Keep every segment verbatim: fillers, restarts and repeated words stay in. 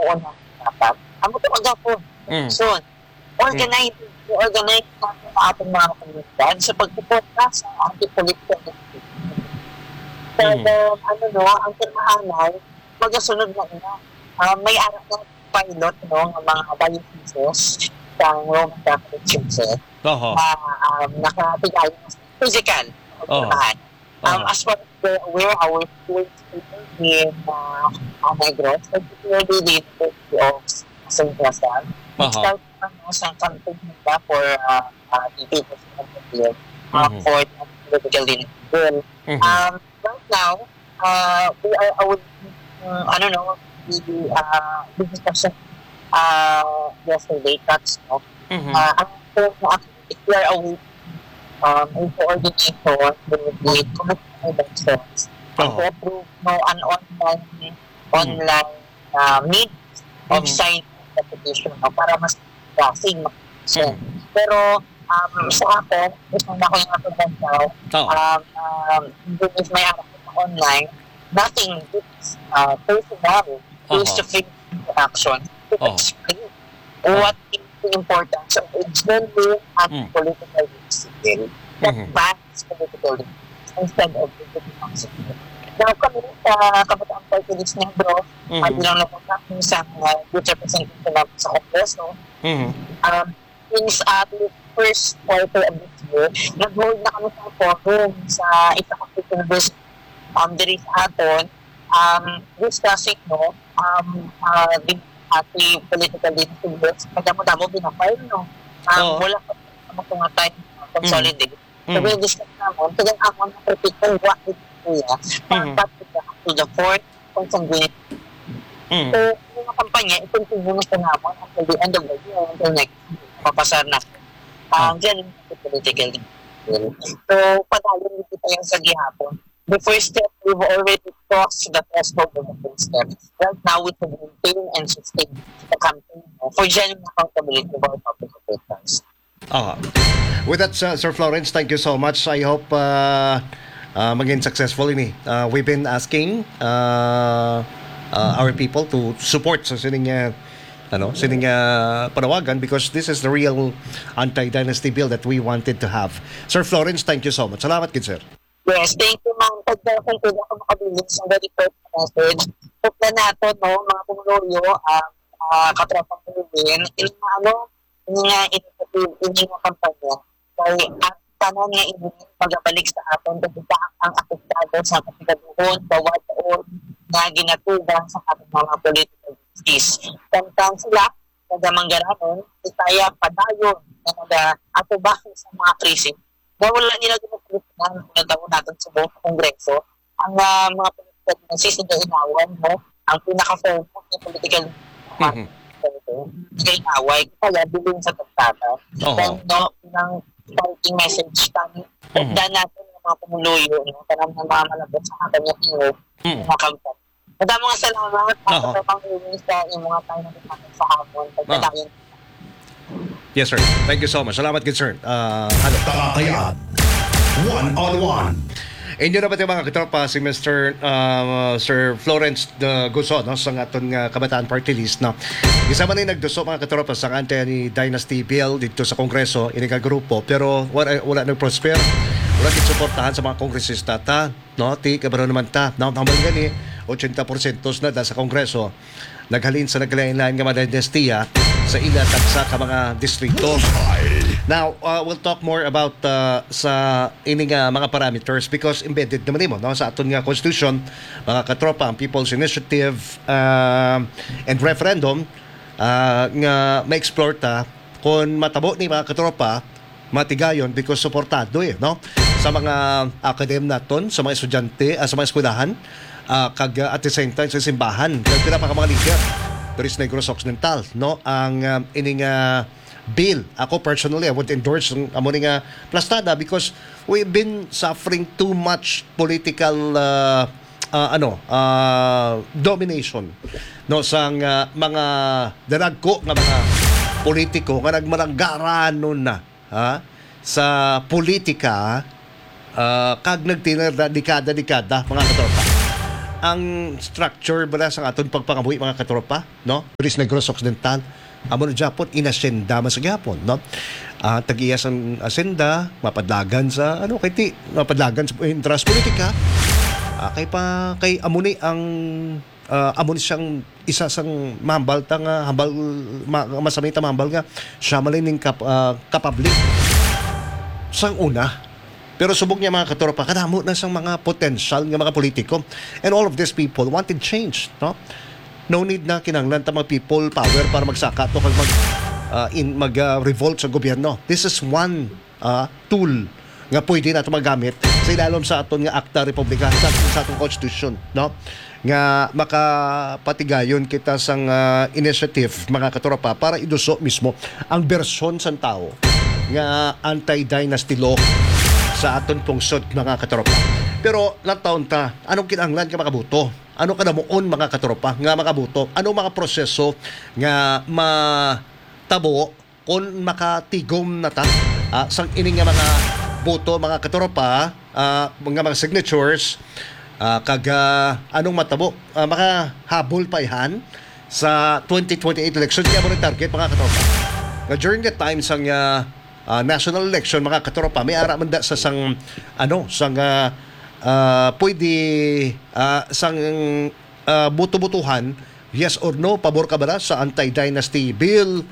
una dapat. Amo to ang gapon. Mm. So, organize, i-organize natin ang ating mga komunidad sa pagsuporta sa ating political leadership. So, Mm. then, ano, no, ang pirmahanay, magasunod na ina. Ah, may ara na pilot, no, ng mga dioceses sa Roman Catholic Churches Oho. na, um, nakatigayon sa physical Oho. pagpirmahan. Um, Oho. as far as we're aware, our schools in, uh, uh, Negros, particularly the University of Saint Joseph, Oho. start, ano, sa campaign nila for, uh, uh, the People's Republic, uh, Mhm. for the political leadership. Mhm. Um, right now, uh, we are aware, uh, ano, no, the, uh, the discussion, uh, yesterday, Kats, no? Mhm. Uh, ang, if we are aware, um, in coordination with the Committee on Elections, and Oo. to approve, no, an online, Mhm. online, uh, means of Mhm. signing the petition, no, para mas klaseng mag-petition. Mhm. Pero, um, sa ako, gusto na ko yung ako daw, Oo. um, um, even if may anak ko online, nothing beats, uh, personal, Oho. face-to-face interaction to Oho. explain Oho. what is the importance of a genuine and Mm. political decision that Mhm. bans political decision instead of political decision. Now, kami sa Kabataan Party List Negros, Mhm. uh, bilang nagpapakita sa, uh, youth representative namin sa Kongreso, Mhm. um, since, uh, the first quarter of this year, nag-hold na kami sa forum sa isa ka university, um, diri sa aton, um, discussing, no, um, uh, the, uh, the political leadership bills, madamo-damo binafile, no? Um, Oo. Wala pa sa mga time, uh, Mm. consolidate. So, Mm. we discuss naman, kaya ang mga topic ng what we do, kuya, Mhm. dapat to the, to the fourth consanguinity. Mm. So, yung mga kampanya, i-continue na sa naman until the end of the year, until next year. Papasar na. Ah, Ah. Diyan yung political. So, padayon dito tayo sa gihapon. The first step, we've already crossed the threshold of the first step. Right now, we should maintain and sustain the campaign, no, for genuine accountability of our public officials. Ah. With that, uh, Sir Florence, thank you so much. I hope, uh, uh, maging successful ini. Uh, we've been asking, uh, uh, our people to support sa sining, uh, ano, sining, uh, panawagan because this is the real anti-dynasty bill that we wanted to have. Sir Florence, thank you so much. Salamat gid, sir. Yes, thank you, ma'am. Pagka kung pwede ako makabilin sa very short message, hope na nato, no, mga pumuluyo, ah, ah, katropang pumuluyo, yung mga, ano, yung mga initiative, yung mga kampanya, kay ang tanan nga ini magabalik sa aton, kasi ta-, ang apektado sa kasigaduhon, kawaton, nga ginatugang sa ating mga political justice. Samtang sila, nagamanggaranon, kaya padayon na nag-atubang sa mga krisis, na wala nila ginapalitan ang nagtabo natin sa buong Kongreso. Ang, ah, mga political na sisigainawan mo, ang pinaka-form ng political Mhm. Kaya away, kaya bilin sa tagtata. Oo. Then, no, ng fighting message kami. Mhm. Dan natin ng mga pumuluyo, no, kanang mga malabot sa kanya, Mhm. mga kampanya. Madamo nga salamat, Oho. Sa pang-uwi sa inyong mga time na sa hapon. Pagkadayon. Yes, sir. Thank you so much. Salamat gid, sir. Ah, ano? Talatayaan. One on one. Inyo na ba, mga katropa, si Mister ah, Sir Florence de Guso, no, sa aton nga Kabataan Party List, no? Isa man ni nagduso, mga katropa, sa anti-dynasty bill dito sa Kongreso, ini nga grupo, pero wala, wala nag-prosper. Wala gid suportahan sa mga kongresista ta, no? Ti, kabalo naman ta, no? Ang gani, ochenta porsyento na da sa Kongreso naghalin sa naglain-lain nga mga dinastiya sa ila tagsa ka mga distrito. Now, uh, we'll talk more about, uh, sa ini nga mga parameters because embedded naman nimo, no, sa aton nga constitution, mga katropa, ang People's Initiative, uh, and Referendum, uh, nga ma-explore ta kung matabo ni, mga katropa, matigayon because suportado, eh, no? Sa mga academe naton, sa mga estudyante, ah, sa mga eskwelahan, ah, kag, ah, at the same time sa simbahan. Kag pila pa ka mga leader diri sa Negros Occidental, no? Ang, ah, ining, ah, bill, ako personally, I would endorse ang amo ni nga plastada because we've been suffering too much political, ah, ah, ano, ah, domination, no, sang, ah, mga daragko nga mga politiko nga nagmalanggaranon na, ha, sa politika, ah, kag nagtinir na dekada-dekada, mga katropa. Ang structure bala sa aton pagpangabuhi, mga katropa, no? Diri sa Negros Occidental, amo na gyapon, in-asyenda man sa gyapon, no? Ah, tag-iya sang asyenda, mapadlagan sa, ano, kay ti, mapadlagan sa interest politika. Ah, kay pa, kay amo ni ang, ah, amo ni siyang isa sang mahambal ta nga hambal, ma-, masamita mahambal nga siya man ning kap-, ah, kapabli sang una. Pero subong niya, mga katropa, kadamo na sang mga potensyal nga mga politiko. And all of these people wanted change, no? No need na kinahanglan ta mag people power para magsaka to kag mag, ah, in, mag, ah, revolt sa gobyerno. This is one, ah, tool nga pwede nato magamit sa ilalom sa aton nga Akta Republika, sa, sa atong constitution, no? Nga makapatigayon kita sang, ah, initiative, mga katropa, para iduso mismo ang bersyon sang tawo nga anti-dynasty law sa aton pungsod, mga katropa. Pero lantawon ta, anong kinahanglan nga makaboto? Ano kadamuon, mga katropa, nga makaboto? Ano mga proseso nga matabo kung makatigom na ta, ah, sang ini nga mga boto, mga katropa, ah, nga mga signatures, ah, kag, ah, anong matabo, ah, makahabol pa ihan sa twenty twenty-eight election? Kaya mo rin target, mga katropa. Nga during the time sang, ah, ah, national election, mga katropa, may ara man da sa sang, ano, sang, ah, ah, pwede, ah, sang, ah, buto-butuhan, yes or no, pabor ka ba na sa anti-dynasty bill?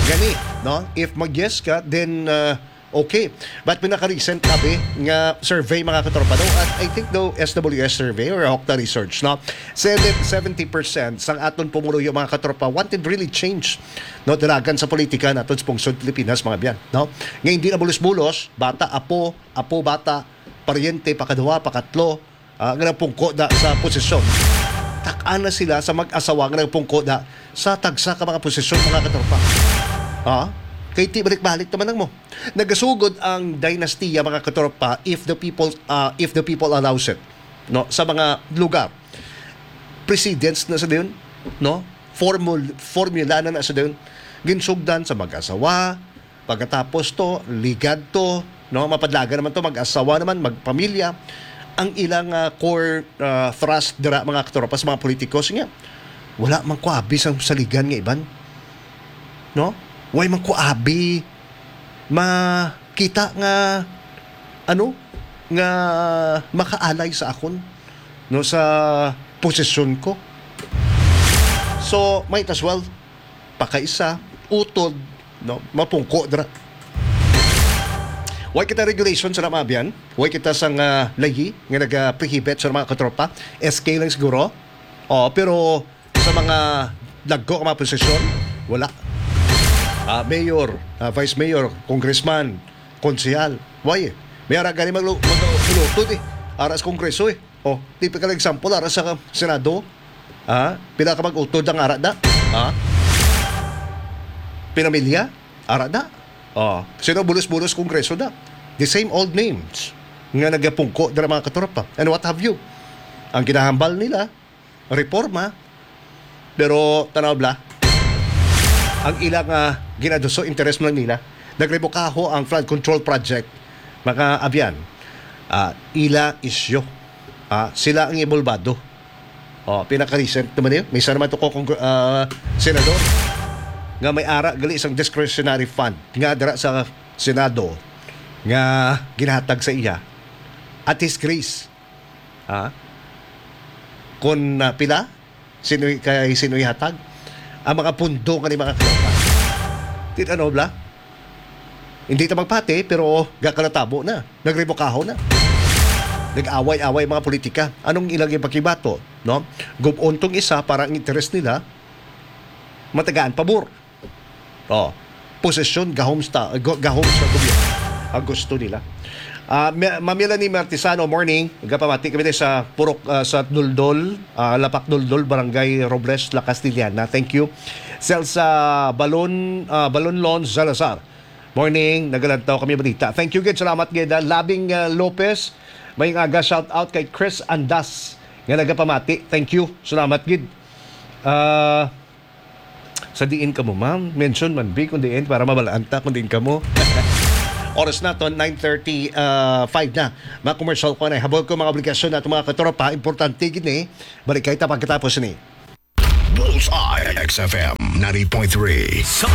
Gani, no? If mag-yes ka, then, ah, okay. But pinaka-recent, abi, nga survey, mga katropa, no? At I think, no, S W S survey or Okta Research, no? Said that seventy percent sang aton pumuluyo, mga katropa, wanted really change, no? Dalagan sa politika naton sa pungsod Pilipinas, mga biyan, no? Nga hindi na bulos-bulos, bata, apo, apo, bata, paryente, pakaduha, pakatlo, ah, nga nagpungko da sa posisyon. Tak-an na sila sa mag-asawa nga nagpungko da sa tagsa ka mga posisyon, mga katropa. Ha? Kay ti balik-balik naman ang mo. Nagasugod ang dinastiya, mga katropa, if the people, ah, if the people allows it, no, sa mga lugar. Precedents na sa dayon, no? Formul-, formula na na sa dayon. Ginsugdan sa mag-asawa, pagkatapos to, ligad to, no? Mapadlagan naman to, mag-asawa naman, magpamilya. Ang ilang, ah, core, ah, thrust dira, mga katropa, sa mga politiko, sige, wala man ko abi sang saligan nga iban. No? Way man ko abi makita nga, ano, nga makaalay sa akon, no, sa posisyon ko. So, might as well pakaisa, utod, no, mapungko dira. Way kita regulation sa mga biyan, way kita sang, ah, layi nga nagaprohibit sa mga katropa, S K lang siguro. Oh, pero sa mga dagko nga mga posisyon, wala. Ah, mayor, ah, vice mayor, congressman, konsehal. Why? May ara gani maglu-, mag-, magulutod eh. Ara sa Kongreso eh. Oh, typical example, ara sa Senado. Ah, pila ka mag-utod ang ara da? Ah? Pinamilya? Ara da? Oh, sino bulos-bulos Kongreso da? The same old names nga nagapungko dira, mga katropa. And what have you? Ang ginahambal nila, reforma, pero tanaw bla, ang ilang, ah, ginaduso, interes man nila. Nagrebukaho ang flood control project, mga abyan. Ah, ila isyu. Ah, sila ang involbado. Oh, pinaka-recent naman yun. May isa naman to ko, congr-, ah, senador nga may ara gali sang discretionary fund nga dira sa Senado nga ginahatag sa iya at his grace. Ha? Kung, ah, pila? Sino, kay sino ihatag ang mga pundo nga ni mga katropa? Tin-, ano, bla? Hindi ta magpati, pero gakanatabo na. Nagrebukaho na. Nag-away-away mga politika. Anong ilang ipakibato, no? Gub-on tong isa para ang interes nila matagaan pabor. Oh, posisyon, gahom sta-, go-, gahom sa gobyerno ang gusto nila. Ah, Ma-, Ma'am Melanie Martisano, morning. Nagapamati kami sa Purok, ah, sa Duldol, ah, Lapak Duldol, Barangay Robles, La Castellana. Thank you. Celsa Balon, ah, Balonlon Salazar. Morning, nagalantaw kami balita. Thank you gid, salamat gid. Ah, Labing, ah, Lopez, may aga shout out kay Chris Andas nga nagapamati. Thank you, salamat gid. Ah, sa diin kamo, ma'am? Mention man, bi, kung diin, para mabalaan ta kung diin kamo. Oras naton, nine thirty-five na. Mga commercial ko na, habol ko mga obligasyon nato, mga katropa. Importante gini. Balik kita pagkatapos ni. Bullseye X F M ninety point three. Sa